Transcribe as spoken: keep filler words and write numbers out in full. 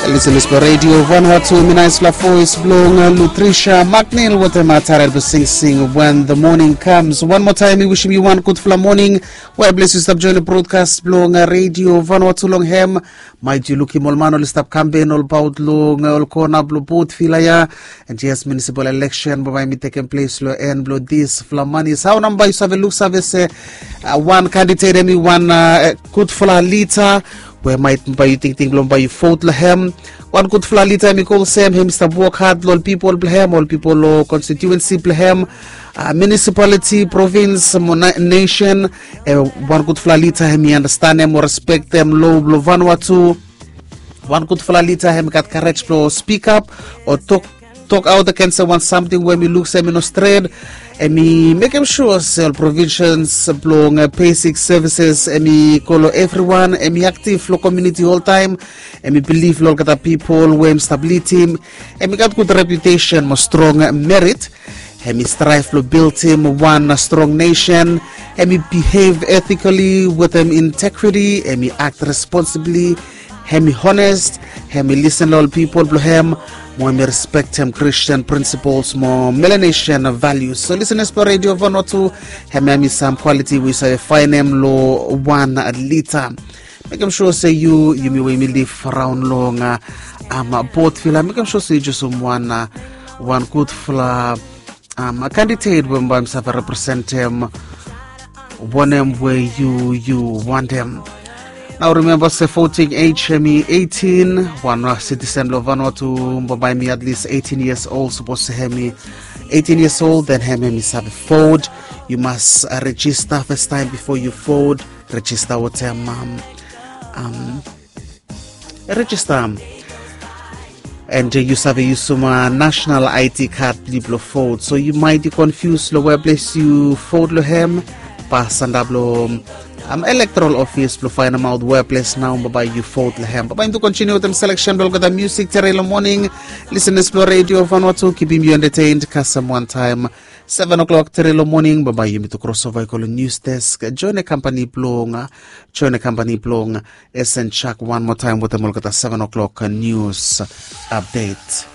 Lisenis blong redio Vanuatu, mi naispela voes blong Lutricia McNeil wetem taret blong singsing When the Morning Comes. Wan moa taem mi wisim yu wan gudfala moning. Wea ples yu stap join brodkas blong redio Vanuatu long hem. Maet yu lukim ol man oli stap kampen olbaot long ol kona blong Port Vila ya. And yes, municipal election bae bae mi tekem ples long en blong disfala manis. Hao nao bae yu save luksave se wan kandidet hemi wan gudfala lida we maet bae yu tingting blong bae yu vot long hem? Wan gudfala lida hemi go olsem hemi stap wok had long ol pipol blong hem, ol pipol long konstituensi blong hem, munisipaliti, provins mo nesen. Wan gudfala lida hemi anastenem o respektem lo blong Vanuatu. Wan gudfala lida hemi gat karej blong spikap o tok tok aot agens wan samting we mi luk se hemi no stret. Hemi mekem sua se ol provisens blong besik sevises hemi go long evriwan, hemi aktiv long komuniti oltaem, hemi bilif long olgeta pipol we hemi stap lidim. Hemi gat gud reputesen mo strong merit. Hemi straev blong bildim wan strong nesen. Hemi bihev etikali wetem integriti. Hemi akt responsibli. Hemi hones. Hemi lisen long ol pipol blong hem. Mo hemi respektem Kristin prinsipols mo Melanesian valius. So lisenis blong redio Vanuatu, hemia hemi sam kwaliti we yu save faenem long wan lida. Mekem sua se yu, yumi we yumi lif raon long Port Vila, mekem sua se yu jusum wan wan gudfala kandidet we bae mi save representem wanem we yu yu wantem. Nao rimemba se voting ej hemi eighteen. Wan sitisen blong Vanuatu bambae hemi at least eighteen years old. Sapos se hemi eighteen years old, then hemi hemi save vot. Yu mas rejista fastaem bifo yu vot. Rejista wetem rejista. And yu save yusum national I D kad blong yu blong vot. So yu maet yu konfius long wea ples yu vot long hem. Pas antap long elektoral ofis blong faenemaot wea ples nao bambae yu vot long hem. Bambae yumi tu kontiniu wetem seleksen blong olgeta musik tere long moning. Lisenis blong redio Vanuatu, kipim yu entertained kasem wantaem seven o'clock tere long moning. Bambae yumi tu krosova i go long nius desk. Join e kampani blong join e kampani blong Esen Chak wan moa taem wetem olgeta seven o'clock nius apdet.